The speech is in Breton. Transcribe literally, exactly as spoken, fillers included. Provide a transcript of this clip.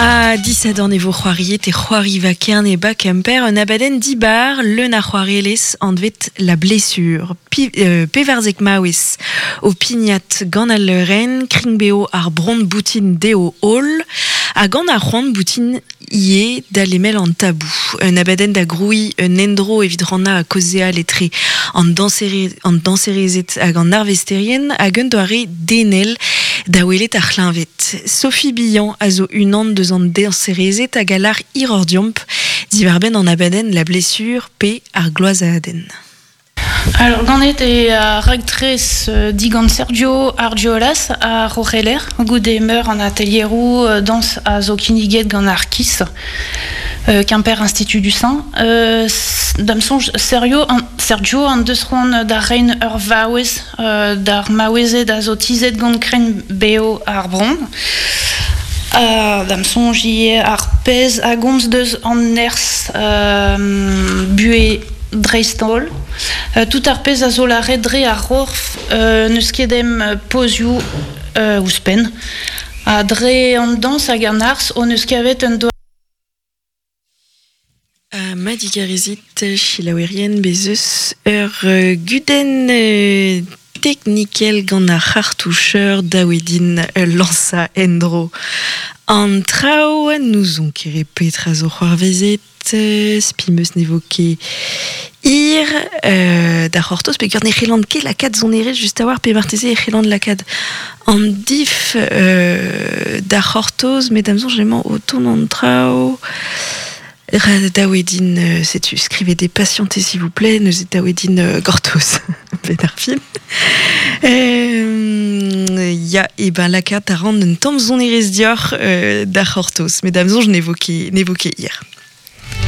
A disadorn e vo c'hoariet e c'hoari va kerne ba Kemper un abadenn dibar leun ar c'hoarelez anvet la blessure. Pi, euh, pevarzek maouez o pignat gant al leurenn, kringbeo ar bron boutin deo hol, ha gant ar c'hoant boutin ie da lemel an tabou. Un abadenn da groui un endro evit ranna a kozea letre an dansere, an danserezet hag an arvesterien hag un doare denel da welet ar c'hleñvet. Sophie Billan a zo unan deus an danserezet hag alar irordiomp diwarbenn an abadenn la blessure pe ar gloazadenn. Alors, ganet e a raktres euh, digant Sergio Argiolas a Rocheler, goude meur an atelierou euh, dans a zo kinniget gant ar KIS, euh, Quimper Institut du Sein. Euh, dam sonj Sergio an, Sergio an deus c'hoant da rein ur vaouez euh, d'ar maouezet a zo tizet gant kren beo ar bron. Uh, dam sonj ie ar pez a gomz deus an nerz euh, bue dreist-holl. Euh, tout ar pez a zo lare dre ar rorf euh, neus ket em pozioù euh, ouzhpenn. Ha dre an dans hag an arz o neus kavet un doare Uh, Madigarezit chilaouerien bezeus ur uh, gudenn uh, teknikel gant ar c'hartoucheur daouedin uh, lansa endro. An traoù n'ouzon ket petra zo c'hoarvezet, uh, spimeus nevo ket ir euh, da c'hortoz peogwir ne c'hellan ket lakaat sonerezh just a-walc'h pe marteze e c'hellan lakaat an dif euh, da c'hortoz, met da'm soñj emañ o tont an traoù. Daouedin, euh, setu, skrivez des patientez s'il vous plaît, neuze daouedin euh, gortoz, ben ar fin. Euh, ya, e ben lakaat a ran un tamm sonerezh dioc'h euh, da c'hortoz, met da'm soñj nevo ket, nevo ket hir.